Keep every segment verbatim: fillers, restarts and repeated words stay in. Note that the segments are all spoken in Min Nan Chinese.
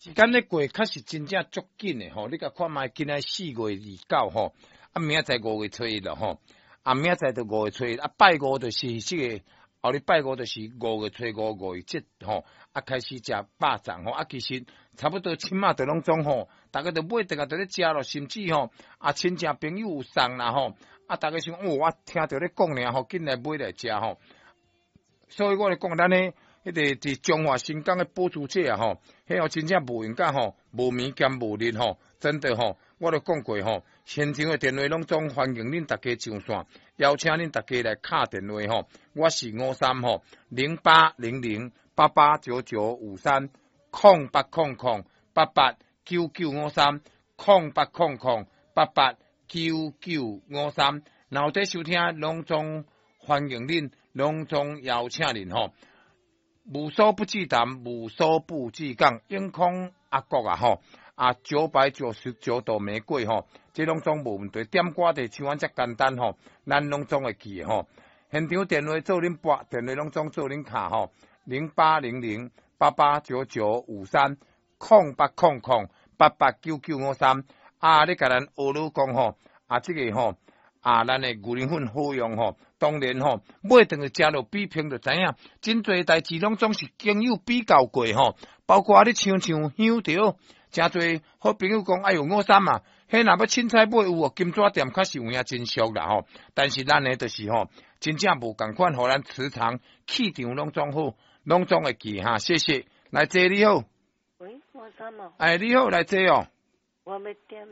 時間咧過確實真正足緊的吼，你共看覓，今仔四月二九吼，啊明仔載五月初一了吼，啊明仔載就五月初一，啊拜五就是這個，後日拜五就是五月初五五月節吼，啊開始食肉粽吼，啊其實差不多這馬就攏總吼，逐家就買轉來就咧食咯，甚至吼啊親戚朋友有送啦吼，啊逐家想哦，我聽著咧講爾吼，緊來買來食吼，所以我咧講咱咧。彼個佇彰化新港的保珠姐啊吼，彼哦真正無閒甲吼，無暝兼無日吼，真的吼，我都講過吼，現場的電話攏總歡迎恁逐家上線，邀請恁逐家來敲電話吼，我是吳三吼，零八零零八八九九五三，空八空空八八九九五三，空八空空八八九九五三，若有佇收聽，攏總歡迎恁，攏總邀請恁吼。無所不忌談，無所不忌講，永康阿國啊吼，啊九百九十九朵玫瑰吼，這攏總無問題。點歌就像按遮簡單吼，咱攏總會記的吼。現場電話做恁撥，電話攏總做恁敲吼，零八零零八八九九五三，空八空空八八九九五三。啊，你共咱學魯講吼，啊這個吼。啊，咱的牛奶粉好用吼，當然吼，買轉去食落比拼就知影，真濟代誌攏總是經有比較過吼，包括你像像香著，誠濟好朋友講，哎喲，吳三啊，彼若欲凊彩買有哦，金紙店確實有影真俗啦吼，但是咱的就是吼，真正無仝款，予咱磁場氣場攏總好，攏總會記哈，謝謝，來坐你好。喂，吳三哦。哎，你好，來坐哦。我欲點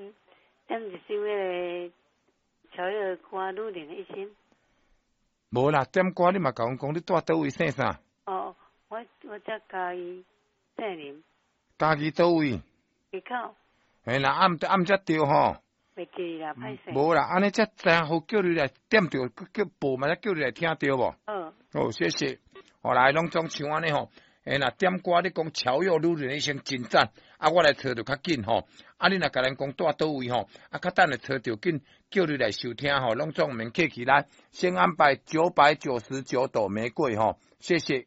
點一首彼個。喬藥歌女人的一生。無啦，點歌你嘛共阮講，你住佗位姓啥？哦，我我佇嘉義姓林。嘉義佗位？溪口。嘿啦，按按才對吼。袂記啦，歹勢。無啦，按呢才知影好叫你來點著，叫報嘛，才叫你來聽著無？嗯。好，謝謝。後來攏總像按呢吼，嘿若點歌你講喬藥女人的一生真讚，啊，我來揣著較緊吼。啊，你若共咱講住佗位吼，啊，較等下揣著緊，叫你來收聽吼，攏總毋免客氣來，先安排九百九十九朵玫瑰吼，謝謝。